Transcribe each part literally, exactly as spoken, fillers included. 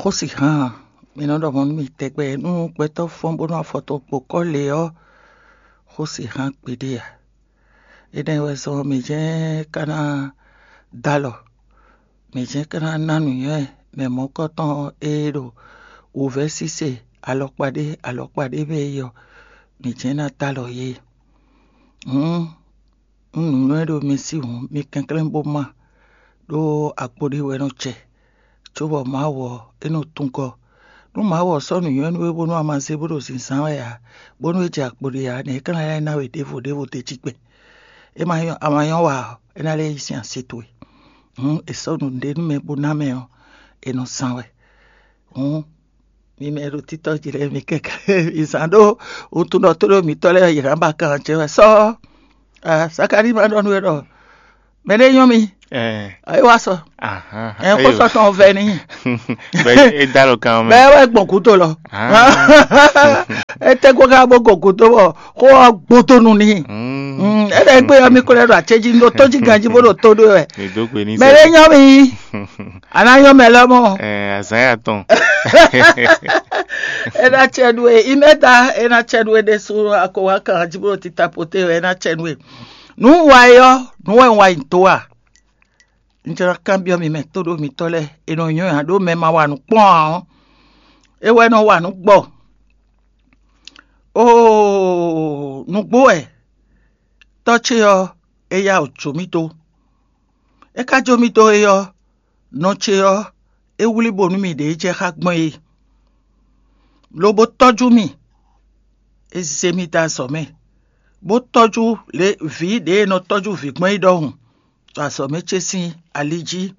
Xósihán, mi nɔ ɖɔ mɔ̌ nú mì tɛgbɛ nú gbɛtɔ́ fɔ́n bónú afɔ tɔn kpo kɔ́ lě ɔ́, xósihán gbeɖé ǎ. Énɛ́ wɛ zɔ́n mǐ jɛ́n ka ná dó alɔ, mǐ jɛ́n ka ná ná nǔnywɛ́ mɛ mɔ̌kɔtɔn e ɖo wǔvɛ́ síse alɔkpa ɖé alɔkpa ɖé mɛ é ɔ́, mǐ jɛ́n ná dó alɔ yě. Hǔn, nú nǔnywɛ́ ɖo mi sí hǔn, mi kɛnklɛ́n bó má, ɖó akpo ɖé wɛ nɔ jɛ, cóbɔ Mawu ɔ́, é nɔ tungɔ. Nú Mawu ɔ́ sɔ́ nǔnywɛ́ nú we bónú a ma zé bó ɖo zǐnzán wɛ ǎ, bónú é jɛ akpo ɖé ǎ, nɛ̌ é ka ná lɛ́ ná we ɖěvo ɖěvo d'é jí gbɛn? É ma nyɔ́, a ma nyɔ́ wa ɔ́, é ná lɛ́ yí sín así towe. Hǔn è sɔ́ nǔɖé nú mɛ bó ná mɛ ɔ́, è nɔ zán wɛ. Hǔn mi mɛ e ɖo títɔ́ jí lɛ́ɛ, mi kɛnklɛ́n mi zán ɖó wuntun ɖɔ tó ɖo mǐtɔn lɛ́ɛ yě ná ba kan ce wɛ sɔ́. Sakalíi ma ɖɔ nú we ɖɔ mɛ ɖé nyɔ́ mi, Ɛɛ, é wá sɔ. Ahán, ɛ kó eyo. Sɔ tɔn vɛ n'i. Bɛ e dá lɔ kan Bɛ mɛ. Wɛ gbɔn gúdo lɔ. Ah. Ete kó ká bó go gúdo bɔ kó ɔ gbódó nu n'i. Mm. Mm, é lɛ gbé ɔmí kó lɛ ɖo acéjí ɖo tójí ganjí bó ɖo tó ɖó wɛ. Èdó gbe ní Mɛ ɖé nyɔ́ mi, àná nyɔ́ mɛ lɔ mɔ. Ɛ azán yà tɔn. É ná cɛ ɖu é, imɛta é ná cɛ ɖu é ɖésú akɔwá kan jí bó ɖo tita poté wɛ é ná cɛ ɖu é. Nǔ wa é ɔ́, nǔ wɛ un wa nyi dó a? Un jló ná kanbyɔ́ mi mɛ tóɖó mitɔ́ lɛ́ɛ, è nɔ nyɔ́ nya ɖó mɛ ma wa nǔ kpɔ́n ǎ ɔ́, é wɛ nɔ wa nǔ gbɔ. Oo, nǔgbó wɛ tɔ́ ce ɔ́, é yá wǔ jó mì dó. É ka jó mì dó é ɔ́, nɔ ce ɔ́, é wlí bónú mì ɖě jɛ xá gbɔn é, lobo tɔ́jú mì. É zé mì dó azɔ̌ mɛ, bó tɔ́jú lě vǐ ɖě è nɔ tɔ́jú vǐ gbɔn é ɖɔhun, ɖo azɔ̌ mɛ ce sín ali jí,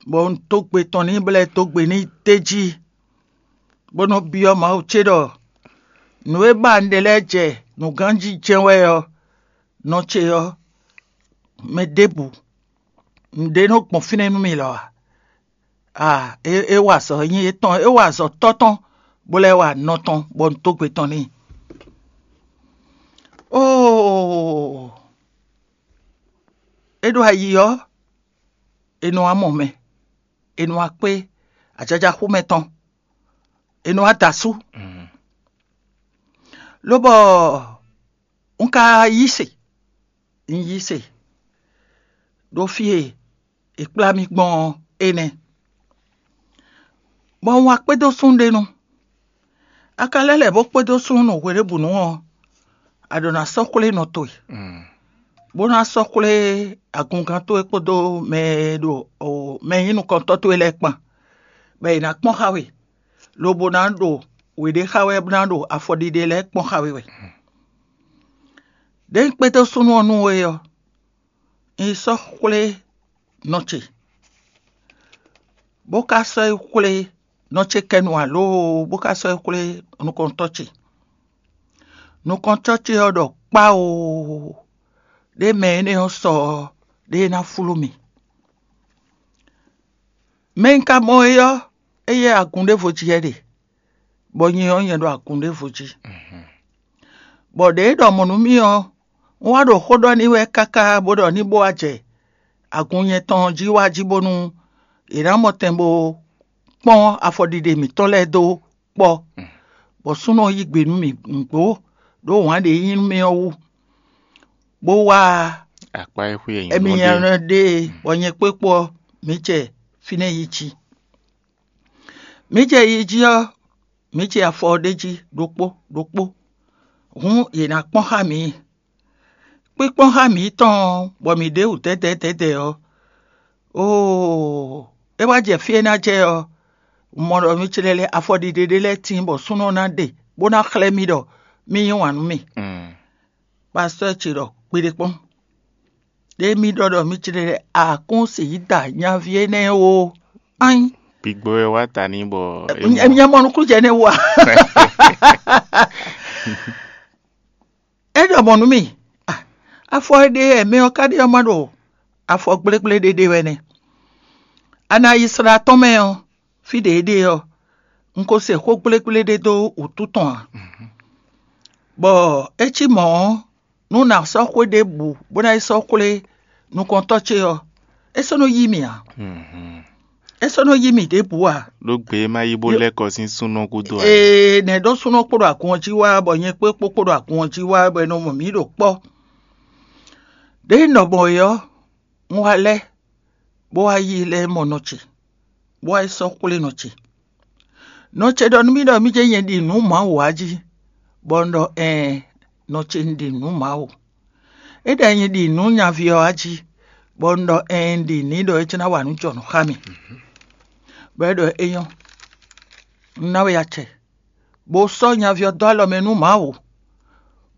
bɔ un dó gbe tɔn n'i, bó lɛ́ dó gbe n'i d'é jí, bó nɔ́ byɔ́ Mawu ce ɖɔ nǔ e ba un ɖe lɛ́ɛ jɛ nǔganjí jɛ́n wɛ ɔ́, nɔ ce ɔ́, mɛ ɖěbǔ, nǔɖé nɔ gbɔn fínɛ́ nú mì lɔ ǎ. A é, é wa azɔ̌ nyí étɔn, é wa azɔ̌ tɔ́ tɔn, bó lɛ́ wa nɔ tɔn, bɔ un dó gbe tɔn n'i. Oo, é ɖo ayi ɔ́, è nɔ wá mɔ mɛ, è nɔ wá kpé ajaja xú mɛ tɔn, è nɔ wá da asú. Lobɔ un ka yí se, un yí se ɖo fí e è kplá mì gbɔn ɔ́ énɛ́, bɔ un wá kpédó súnnu ɖé nu. A ka lɛ́ lɛ̌ bó kpédó súnnu nu hweɖěbǔnu ɔ́, a ɖǒ ná sɔ́ xwlé nɔ towe, bó ná sɔ́ xwlé agungán towe kpódó mɛ e ɖo mɛ e nyí nukɔntɔ́ towe lɛ́ɛ kpan, bɔ è nǎ kpɔ́n xá we, lobo ná ɖo wě ɖé xa wɛ bó ná ɖo afɔɖiɖe lɛ́ɛ kpɔ́n xá we wɛ. Ɖěe un kpédó súnnu ɔ́ nú we ɔ́, un yi sɔ́ xwlé nɔ ce, bó ka sɔ́ yi xwlé nɔ ce kɛnu alo bó ka sɔ́ yi xwlé nukɔntɔ́ ce. Nukɔntɔ́ ce ɔ́ ɖɔ kpáoo, ɖé mɛ énɛ́ ɔ́ sɔ ɔ́, ɖé ná flú mì. Mɛ e un ka mɔ é ɔ́, éyɛ́ agun ɖěvo jí wɛ ɖe, bɔ nyɛ ɔ́, nyɛ ɖo agun ɖěvo jí. Bɔ ɖě e ɖɔ mɔ̌ nú mì ɔ́, un wá ɖo xó ɖɔ n'i wɛ káká bó ɖɔ ní bó wá jɛ agun nyɛ tɔn jí wá jí bónú è nǎ mɔ tɛn bó kpɔ́n afɔɖiɖe mǐtɔn lɛ́ɛ dó kpɔ́, bɔ súnnu ɔ́ yí gbe nú mì nǔgbó, ɖó wǎn ɖě nyí nú mì ɔ́ wú, bó wá Akpá e xwé e nyí émí mɔ nyɛ ɖe. Nɔ ɖe, bɔ nyɛ kpó é kpó ɔ́, mǐ jɛ fínɛ́ yi jí. Mǐ jɛ yi jí ɔ́, mǐ jɛ afɔ ɔ́ ɖ'é jí ɖokpó ɖokpó. Hǔn yě ná kpɔ́n xá mǐ. Kpíkpɔ́n xá mǐ tɔn ɔ́, bɔ mǐ ɖe wǔ dɛ̌dɛ̌ dɛ̌dɛ̌ ɔ́, oo, é wá jɛ fí e ná jɛ ɔ́, un mɔ ɖɔ mǐ clɛ́ lɛ́ɛ afɔɖiɖe ɖé lɛ́ɛ tíin bɔ súnnu ɔ́ ná ɖe, bó ná xlɛ́ mì ɖɔ mì yí wǎn nú mì. Pastɔ́ ce ɖɔ kpeɖé kpɔ́n. Ɖé mì ɖɔ ɖɔ mǐ clɛ́ lɛ́ɛ akún sǐ da nyaví énɛ́ ó. Ain. Gbígbó wɛ wá ta ní bɔ é mɔ. Nya mɔ nukúnnú jɛ énɛ́ wú a? É ɖɔ mɔ̌ nú mì. Ah, afɔ e ɖe wɛ mɛ ɔ́ ka ɖe ɔ́ ma ɖo afɔ gblégblé ɖé ɖe wɛ nɛ́. A nǎ yi slá tɔn mɛ ɔ́, fí ɖě é ɖe ɔ́, un ko se xó gblégblé ɖé dó wǔtu tɔn ǎ. Bɔ é cí mɔ̌ ɔ́, nú nǎ sɔ́ xwé ɖěbǔ bó ná yi sɔ́ xwlé nukɔntɔ́ ce ɔ́, é sɔ́ nɔ yí mì ǎ. é sɔ́ nɔ yí mì ɖěbǔ ǎ. Ɖó gbě e ma yí bó lɛ́ kɔ sín súnɔ gúdo ǎ. Ee, nɛ̌ ɖó súnɔ kpó ɖo agun ɔ́ jí wá, bɔ nyɛ kpó kpó kpó ɖo agun ɔ́ jí wá, bɔ è nɔ mɔ mǐ ɖo kpɔ́. Ɖěe un ɖɔ mɔ̌ é ɔ́, un wá lɛ́, bó wá yí lɛ́ mɔ nɔ ce, bó wá yi sɔ́ xwlé nɔ ce. Nɔ ce ɖɔ nú mì ɖɔ mì jɛ nyɛ ɖi nǔ Mawu ǎ jí, bɔ un ɖɔ ɛɛn, nɔ ce un ɖi nǔ Mawu. É ɖɔ nyɛ ɖi nǔ nyaví ɔ́ ǎ jí, bɔ un ɖɔ ɛɛn, un ɖi nǔ ɖɔ é jɛ́n ná wa nǔ jɔnǔ xá mì. Bɔ é ɖɔ é nyɔ́, un ná we acɛ, bó sɔ́ nyaví ɔ́ dó alɔ mɛ nú Mawu,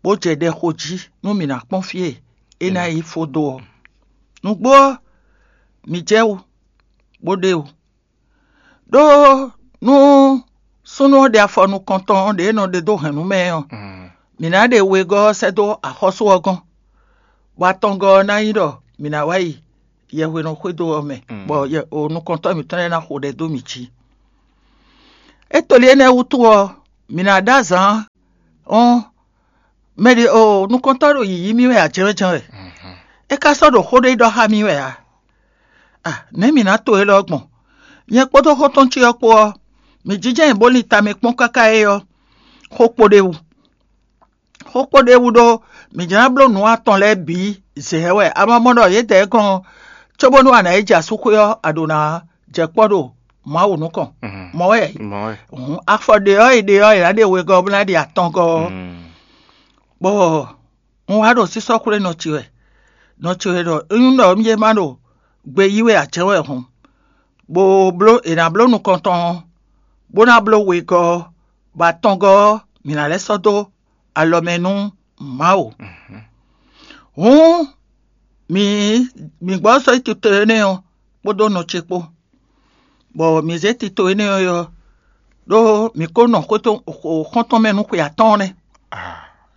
bó jɛ ɖɛ xo jí nú mǐ ná kpɔ́n fí e é ná yi fó dó ɔ́. Nǔgbó ɔ́, mǐ jɛ wú, bó ɖe wú. Ɖó nú súnnu ɔ́ ɖe afɔ nukɔntɔn ɖě nɔ ɖe dó hɛ̌nnu mɛ ɔ́, mǐ ná ɖe wegɔ́ ɔ́ sɛ́ dó axɔ́sú ɔ́ gɔ́n, bɔ atɔngɔ́ ɔ́ ná nyí ɖɔ mǐ ná wá yi yɛhwenɔ xwédo ɔ́ mɛ, bɔ nukɔntɔ́ mǐtɔn lɛ́ɛ ná xo ɖɛ dó mǐ jí. É to li énɛ́ wútu ɔ́, mǐ ná ɖó azǎn ɔ́, mɛ ɖě o nukɔntɔ́ ɖo yǐyí mì wɛ ǎ jɛ́nwɛ́ jɛ́nwɛ́. É ka sɔ́ ɖo xó ɖé ɖɔ xá mì wɛ ǎ. A nɛ̌ mǐ ná to élɔ́ gbɔn? Nyɛ kpódó xɔ́ntɔn ce ɔ́ kpó ɔ́, mǐ jínjɔ́n nyi bó lin tamɛ kpɔ́n káká é ɔ́, xó kpo ɖ'é wú. Xó kpo ɖ'é wú ɖó mǐ jló ná bló nǔ atɔn lɛ́ɛ bǐ zɛ wɛ. A ma mɔ ɖɔ yědɛɛ gɔ́n ɔ́, cóbónú a nǎ yi jɛ asúxwé ɔ́, a ɖǒ ná jɛ kpɔ́ ɖo Mawu nukɔn. Mɔ̌ wɛ. Hǔn afɔ ɖě ɔ́ e ɖe ɔ́, è nǎ ɖe wegɔ́ bó ná ɖe atɔngɔ́ ɔ́. Bɔ un wá ɖo sísɔ́ xwlé nɔ ce wɛ. Nɔ ce wɛ ɖɔ é nyí ɖɔ mì ma ɖo gbe yí wɛ ǎ jɛ́n wɛ hǔn, bó bló è nǎ bló nukɔntɔn ɔ́, bó ná bló wegɔ́ ɔ́, bɔ atɔngɔ́ ɔ́, mǐ ná lɛ́ sɔ́ dó alɔ mɛ nú Mawu. Hǔn mǐ mǐ gbɔ sɔ́ yi tito énɛ́ ɔ́ kpódó nɔ ce kpó, bɔ mǐ zé tito énɛ́ ɔ́ ɖó mǐ ko nɔ xɔ́ntɔn mɛ nú xwe atɔ́ɔ́n nɛ́.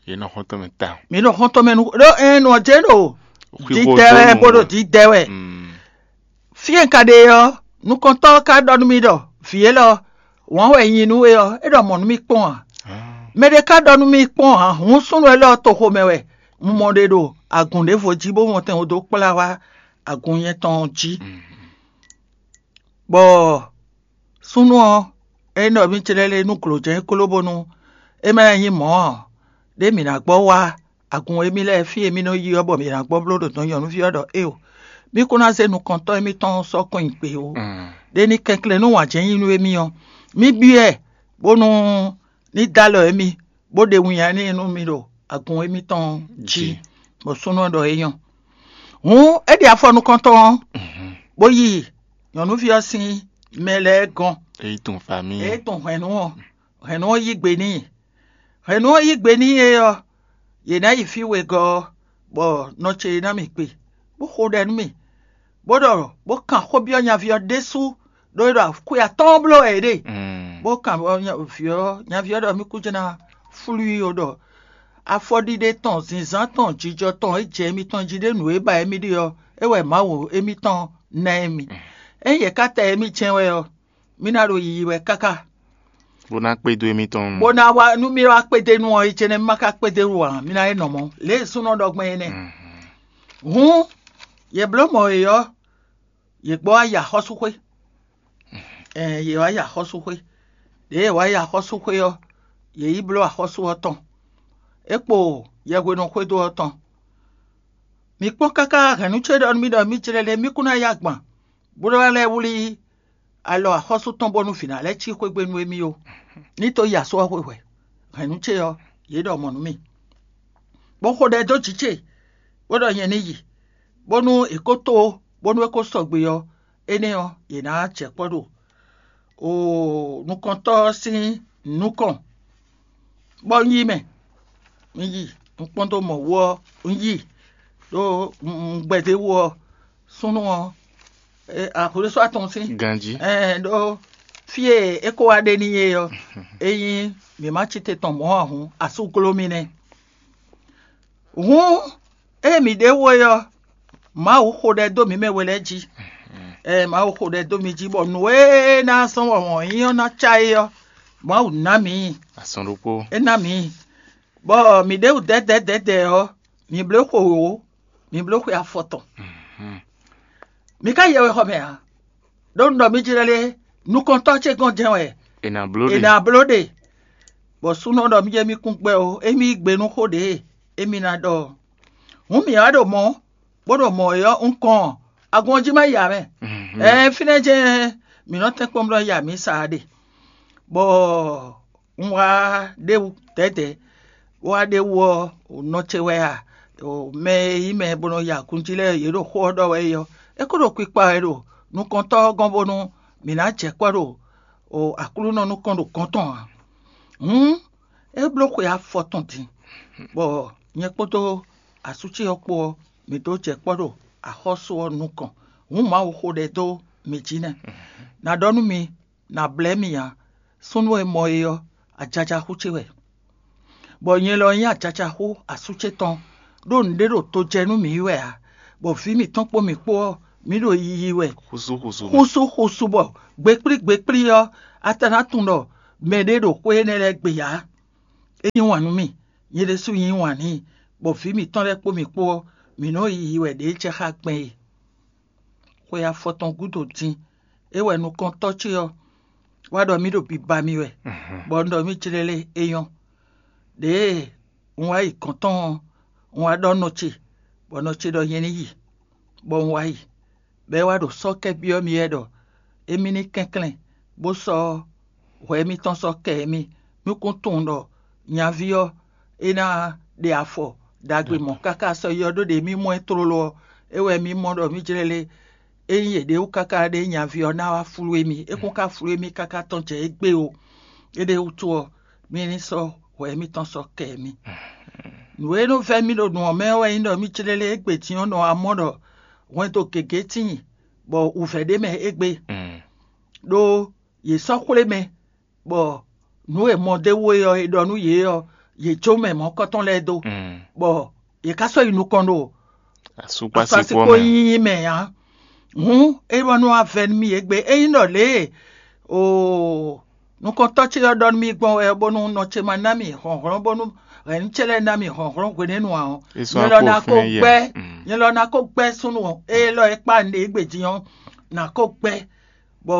Yě nɔ xɔ́ntɔn mɛ tawun. Mǐ nɔ xɔ́ntɔn mɛ nú ɖó ɛn nɔ jɛ ɖo dǐdɛ wɛ bó ɖo dǐdɛ wɛ. Fí e un ka ɖe ɔ́, nukɔntɔ́ ɔ́ ka ɖɔ nú mì ɖɔ vǐ élɔ́ wǎn wɛ nyi nú we ɔ́, é ɖɔ mɔ̌ nú mì kpɔ́n ǎ. Mɛ ɖé ka ɖɔ nú mì kpɔ́n ǎ, hǔn súnnu élɔ́ toxo mɛ wɛ un mɔ ɖe ɖo agun ɖěvo jí bó mɔ tɛn dó kplá wá agun nyɛ tɔn jí. Bɔ súnnu ɔ́, é ɖɔ mì clɛ́ lé nú glǒjɛ́n kóló bónú é ma nyí mɔ̌ ǎ, ɖé mǐ ná gbɔ wá agun émí lɛ́ɛ fí e mì nɔ yi ɔ́, bɔ mǐ ná gbɔ bló ɖo dɔn nyɔ̌nuví ɔ́ ɖɔ éeǒ, mì kún ná zé nukɔntɔ́ émítɔn sɔ́ kɔn nyi gbe ó. Ɖé ní kɛnklɛ́n nú wǎn jɛ́n nyi nú émí ɔ́, mì byɔ́ ɛ bónú ní dó alɔ émí, bó ɖe winnyá n'i nú mi ɖo agun émítɔn jí, bɔ súnnu ɔ́ ɖɔ é nyɔ́. Hǔn é ɖe afɔ nukɔntɔn ɔ́, bó yi nyɔ̌nuví ɔ́ sín mɛ lɛ́ɛ gɔ́n. É yi tunwun fa mì. É tunwun hɛ̌nnu ɔ́, hɛ̌nnu ɔ́ yí gbe n'i. Hɛ̌nnu ɔ́ yí gbe n'i é ɔ́, yě ná yi fí wegɔ́ ɔ́, bɔ nɔ ce ná mì kpe, bó xo ɖɛ nú mì, bó ɖɔ bó kan xó byɔ́ nyaví ɔ́ ɖésú, ɖó é ɖo xwe atɔ́ɔ́n bló wɛ é ɖe. Bó kan vǐ ɔ́, nyaví ɔ́ ɖɔ mì kú jɛ́n ná flú i ó ɖɔ afɔɖiɖe tɔn, zǐnzán tɔn, jijɔ tɔn e jɛ émítɔn jí ɖé nǔ e ba émí ɖe ɔ́, é wɛ Mawu émítɔn ná émí. Ényí yě ká ta émí jɛ́n wɛ ɔ́, mì ná ɖo yiyi wɛ káká. Bó ná kpédó émítɔn. Bó ná wá nú mì wá kpédé nú ɔ́, é jɛ́n nɛ́ mì ma ka kpédé wú ǎ, mì ná é nɔ mɔ̌. Lě e súnnu ɖɔ gbɔn é nɛ́. Hǔn, yě bló mɔ̌ é ɔ́, yě gbɔ wá yi axɔ́súxwé. Ɛn yě wá yi axɔ́súxwé. Ɖěe yě wá yi axɔ́súxwé ɔ́, yě yi bló axɔ́sú ɔ́ tɔn. É kpo yɛhwenɔ xwédo ɔ́ tɔn. Mǐ kpɔ́n káká hɛ̌nnu ce ɖɔ nú mì ɖɔ mì jlɛ́ lɛ́ɛ mì kún ná yi agban, bó ná lɛ́ wlí alɔ axɔ́sú tɔn bónú vǐ ná lɛ́ cí xwé gbe nú émí ó. Ní tó yi asú ɔ́ xwe hwɛ̌, hɛ̌nnu ce ɔ́, yě ɖɔ mɔ̌ nú mì, bó xo ɖɛ dó jǐ ce, bó ɖɔ nyɛ ní yi, bónú è kó tó, bónú é kó sɔgbe ɔ́, énɛ́ ɔ́, yě ná jɛ kpɔ́ ɖo oo nukɔntɔ́ ɔ́ sín nukɔn, bɔ un yi mɛ. Un yi, un kpɔ́n dó mɔ wú ɔ́, un yi ɖó un gbɛdé wú ɔ́, súnnu ɔ́, axwlésú atɔn sín ganjí. Ɛn ɖó fí e é kó wá ɖe n'i é ɔ́, ényí mǐ ma cí te tɔn mɔ̌ ǎ hǔn, asú gló mì nɛ́. Hǔn ée mǐ ɖe wo é ɔ́, Mawu xo ɖɛ dó mǐ mɛ we lɛ́ɛ jí. Ɛɛ Mawu xo ɖɛ dó mi jí, bɔ nǔ e ná zɔ́n wɔ̌nwɔ́n nyí ɔ́ ná cá é ɔ́, Mawu ná mǐ i. Azɔn ɖokpó. É ná mǐ i. Bɔ mǐ ɖe wǔ dɛ̌dɛ̌dɛ̌dɛ̌ ɔ́, mǐ bló xwe wǒ, mǐ bló xwe afɔtɔn. Mǐ ka yɛ wɛ xɔ mɛ ǎ. Ɖó un ɖɔ mì jlɛ́ lé, nukɔntɔ́ ce gɔ́n jɛ́n wɛ è nǎ bló ɖe. È nǎ bló ɖe, bɔ súnnu ɔ́ ɖɔ mì jɛ mì kún gbɛ ó, émí yí gbe nú xó ɖě émí ná ɖɔ ɔ́. Hǔn mǐ wá ɖo mɔ̌, bó ɖo mɔ̌ é ɔ́, un kɔn agun ɔ́ jí ma yi ǎ mɛ. Ɛɛ, fínɛ́ jɛ́n mǐ nɔ tɛ́nkpɔ́n bló ya mǐ sa ɖe, bɔ un wá ɖ'é wú dɛ̌dɛ̌, bó wá ɖ'é wú ɔ́, nɔ ce wɛ a? Mɛ e nyí mɛ bó nɔ ya agun jí lɛ́ɛ, yě ɖo xó ɔ́ ɖɔ wɛ é ɔ́, é kó ɖo kpikpa wɛ ɖo nukɔntɔ́ ɔ́ gɔ́n bónú mǐ ná jɛ kpɔ́ ɖo Aklúnɔ nukɔn ɖo gɔ̌n tɔn ǎ. Hǔn é bló xwe afɔ tɔn din, bɔ nyɛ kpódó asú ce ɔ́ kpó ɔ́, mǐ dó jɛ kpɔ́ ɖo axɔ́sú ɔ́ nukɔn. Hǔn Mawu xo ɖɛ dó mǐ jí nɛ́. Ná ɖɔ nú mi, ná blɛ́ mì ǎ. Súnnu e mɔ é ɔ́, ajaja xú ce wɛ, bɔ nyɛ lɔ nyí ajaja xú asú ce tɔn, ɖó nǔɖé ɖo to jɛ nú mǐ wɛ ǎ, bɔ vǐ mǐtɔn kpó mǐ kpó ɔ́, mǐ ɖo yiyi wɛ xúsúxúsú bɔ gbekplí gbekplí ɔ́, a ka ná tunwun ɖɔ mɛɖé ɖo xwé énɛ́ lɛ́ɛ gbe ǎ. É yí wǎn nú mì, nyɛ ɖésú yí wǎn n'i, bɔ vǐ mǐtɔn lɛ́ɛ kpó mǐ kpó ɔ́, mǐ nɔ́ yiyi wɛ ɖě jɛ xá gbɛn e. Xwe afɔtɔn gúdo din, é wɛ nukɔntɔ́ ce ɔ́ wá ɖɔ mì ɖo biba mì wɛ, bɔ un ɖɔ mì jlɛ́ lé é nyɔ́. Ɖěe un wá yi gɔ̌n tɔn ɔ́, un wá ɖɔ nɔ ce, bɔ nɔ ce ɖɔ nyɛ ní yi, bɔ un wá yi. Bɔ é wá ɖo sɔ́ kɛ byɔ́ mì wɛ ɖɔ émí ní kɛnklɛ́n, bó sɔ́ hwɛ émítɔn sɔ́ kɛ émí. Mì kún tunwun ɖɔ nyaví ɔ́, é ná ɖe afɔ ɖagbe mɔ̌ káká sɔ́ yi ɔ́, ɖó ɖě mì mɔ ɛ tlóló ɔ́, é wɛ mì mɔ ɖɔ mì jlɛ́ lé. Ényí yě ɖe wú káká ɖé nyaví ɔ́ ná wá flú émí, é kún ka flú émí káká tɔn jɛ égbé ó. Éɖée wútu ɔ́, mì ní sɔ́ hwɛ émítɔn sɔ́ kɛ émí. Nǔ e nɔ vɛ́ mì ɖo nǔ ɔ́ mɛ ɔ́ wɛ nyí ɖɔ mì clélé égbé din ɔ́ nɔ wá mɔ ɖɔ hwɛndo gěgé tíin, bɔ wǔvɛ́ ɖ'é mɛ égbé, ɖó yě sɔ́ xwlé mɛ, bɔ nǔ e mɔ d'é wú é ɔ́, è ɖɔ nú yě ɔ́, yě jó mɛ mɔ̌kɔ́tɔn lɛ́ɛ dó, bɔ yě ká sɔ́ yi nukɔn ɖo asúkpásíkpó asúkpásíkpó mɛ. Nyínyí mɛ ǎ. Hǔn é wá nú wá vɛ́ nú mì égbé. Ényí ɖɔ lě e oo nukɔntɔ́ ce ɔ́ ɖɔ nú mì gbɔn wɛ, bónú nɔ ce ma ná mì hlɔ̌nhlɔ́n, bónú hɛ̌nnu ce lɛ́ɛ ná mì hlɔ̌nhlɔ́n hwenɛ́nu ǎ ɔ́, Nyɛ lɔ ná kó gbɛ́, nyɛ lɔ ná kó gbɛ́ súnnu élɔ́ e kpá un ɖe égbé din ɔ́, ná kó gbɛ́, bɔ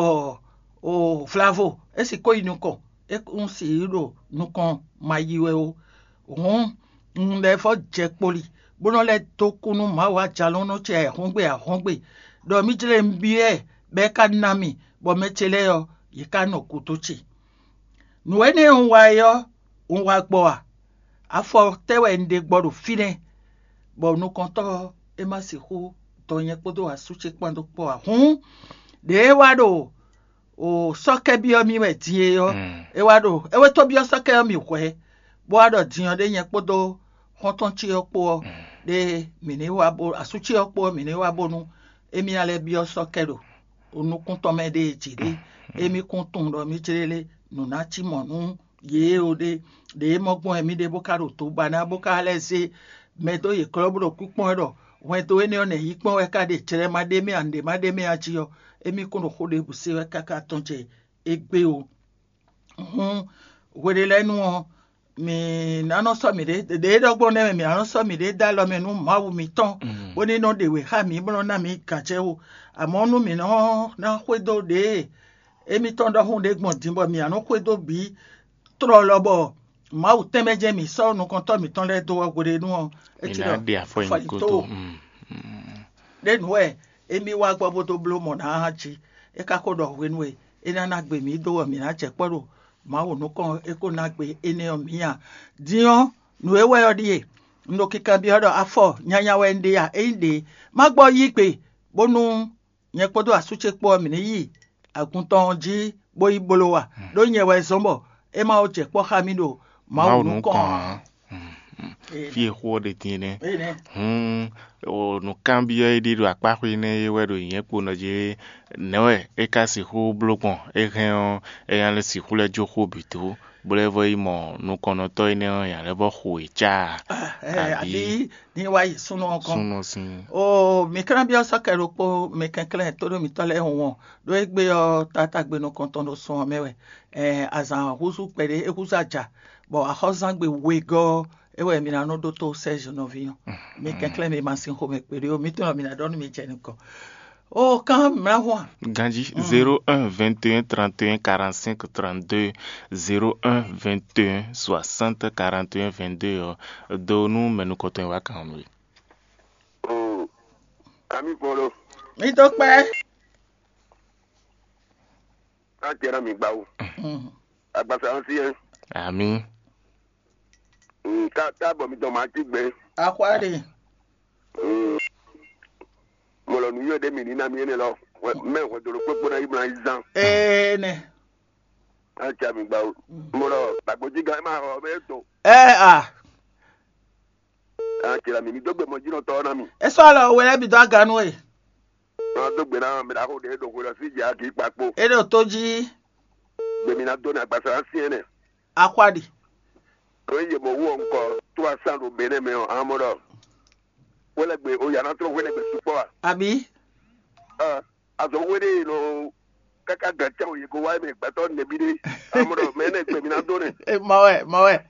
o vlavo é sixú yi nukɔn, é kún sixú ɖo nukɔn ma yi wɛ ó. Hǔn un lɛ́ vɔ́ jɛ kpoli, bó nɔ́ lɛ́ dó kú nú Mawu ajalɔ̌nlɔn ce ahɔ́ngbe ahɔ́ngbe, ɖɔ mì jlé un byɔ́ ɛ, bɔ é ka ná mì, bɔ mɛ ce lɛ́ɛ ɔ́, yě ká nɔ gǔdo ce. Nǔ énɛ́ e un wa é ɔ́, un wa gbɔ a? Afɔ tɛ́ wɛ un ɖe gbɔ ɖo fínɛ́, bɔ nukɔntɔ́ ɔ́, é ma sixú dɔ nyɛ kpódó asú ce kpán dó kpɔ́ ǎ. Hǔn ɖěe wá ɖo o sɔ́kɛ́ byɔ́ mì wɛ din é ɔ́, é wá ɖo é wé tó byɔ́ sɔ́kɛ́ ɔ́ mì hwɛ̌, bó wá ɖɔ din ɔ́ ɖé nyɛ kpódó xɔ́ntɔn ce ɔ́ kpó ɔ́, ɖé mǐ ní wá bó asú ce ɔ́ kpó ɔ́, mǐ ní wá bónú émí ná lɛ́ byɔ́ sɔ́kɛ́ ɖo nukún tɔn mɛ ɖée jí ɖé. Émí kún tunwun ɖɔ mì jlé lé nǔ ná cí mɔ̌ nú yě ó ɖé. Ɖě e mɔ gbɔn wɛ mì ɖe bó ka ɖo to ba ná bó ka lɛ́ zé mɛ dó yě klɔ́ bó ɖo kúkpɔ́n wɛ ɖɔ hwɛndo énɛ́ ɔ́ nɛ̌ yí kpɔ́n wɛ ka ɖe jlɛ ma ɖ'é mɛ a, nǔɖé ma ɖ'é mɛ a jí ɔ́, émí kún ɖo xó ɖěbǔ se wɛ káká tɔn jɛ égbé ó. Hǔn hweɖelɛ́nu ɔ́, mǐ ná nɔ sɔ́ mǐɖée ɖě e ɖɔ gbɔn nɛ́ mɛ mǐ ná nɔ sɔ́ mǐɖée dó alɔ mɛ nú Mawu mǐtɔn, bó ní nɔ ɖe wě xá mǐ bó nɔ ná mǐ gǎnjɛwú. Amɔ̌ nú mǐ nɔ ná xwedó ɖěe émítɔn ɖɔhun ɖé gbɔn din bɔ mǐ ná nɔ xwedó bǐ tlɔlɔ bɔ Mawu tɛnmɛ jɛ́n mǐ sɔ́ nukɔntɔ́ mǐtɔn lɛ́ɛ dó ɔ́ hweɖénu ɔ́, é cí ɖɔ afɔ nyi kótó. Ɖé nǔ wɛ émí wá gbɔ bó dó bló mɔ̌ ná jí. É ka ko ɖɔ hwenu e é ná ná gbe mǐ dó ɔ́, mǐ ná jɛ kpɔ́ ɖo Mawu nukɔn, é ko ná gbe énɛ́ ɔ́ mǐ ǎ. Din ɔ́, nǔ e wɛ ɔ́ ɖíe: un ɖo kinkanbyɔ́ ɖɔ afɔ nyanya wɛ un ɖe a? Ényí ɖě, má gbɔ yí gbe bónú nyɛ kpódó asú ce kpó ɔ́, mǐ ní yi agun tɔn ɔ́ jí bó yi bló a? Ɖó nyɛ wɛ zɔ́n bɔ é ma ko jɛ kpɔ́ xá mì ɖo Mawu nukɔn ǎ. Fí e xó ɔ́ ɖe din é nɛ́. Hǔn nǔkanbyɔ́ e ɖe ɖo akpáxwé énɛ́ é wɛ ɖo nyɛ̌ kponɔ jí: nɛ̌ wɛ é ka sixú bló gbɔn? É hɛn ɔ́, é ná lɛ́ sixú lɛ́ jó xó bǐ dó, bó lɛ́ vɔ yi mɔ nukɔnnɔtɔ́ énɛ́ ɔ́, nya lɛ́ vɔ xo yě cá? Abǐ ní wá yi súnnu ɔ́ gɔ́n. Súnnu sín. O mi kanbyɔ́ sɔ́ kɛ ɖokpó mi kɛnklɛ́n tóɖó mitɔ́ lɛ́ɛ hɔn, ɖó égbé ɔ́, tátágbe nukɔntɔn ɖo sun ɔ́ mɛ wɛ. Azǎn húzú kpɛɖé é húzú aja, bɔ axɔ́zangbe wegɔ́ ɔ́, é wɛ mi ná nɔ ɖótó sɛ́ nɔví ɔ́. Mi kɛnklɛ́n mi ma sín xomɛ kpéɖé ó, mi tunɔ mi ná ɖɔ nú mi jɛ nukɔn. O kan mlahwan. Ganji zéro un vingt et un trente et un quarante-cinq trente-deux, zéro un vingt et un soixante quarante et un vingt-deux ɔ do nú mɛnukɔtɔn e wá kan ɔ́ nú we. O ami fɔlɔ Mi to kpɛ. A jɛra mi gbawo. Agbasa ɔ́ sí ɛ. Ami. Ka ta bɔ mi dɔn ma jí gbɛ. Akwade. Mo lɔ nu yɔ ɖe mi ní na mi énɛ́ lɔ. Mɛ hwɛdolo kpékpó ná yi mlá yi zán. Ee nɛ. A ja mi gbawo. Mo lɔ gbàgbójí gan ɛ má xɔ bɛ to. Ɛ a. A jɛra mi mi dó gbe mɔ jínɔ tɔ na mi. E sɔ lɔ wɛ lɛ bi dɔ aganu e. Ná dó gbe ná mi ɖaxó ɖe ɖo hwe lɔ sí dzi agi kpakpo. E ɖo to jí. Gbe mi ná dó ní agbasa ná sí ɛnɛ. Akwade. Ke ye mɔ wú ɔnkɔ tó asán ɖo Benɛ mɛ ɔ, amɔ ɖɔ. Hwelɛgbe o yana trɔ hwelɛgbe sukpɔ a? Abi. Ɛ azɔ hwe ɖe nɔ kaka gan cɛ o ye ko wa mɛ gbɛtɔ nɛbi ɖe. Amɔ ɖɔ mɛ ne gbe mi ná dó nɛ. E mɔ wɛ mɔ wɛ.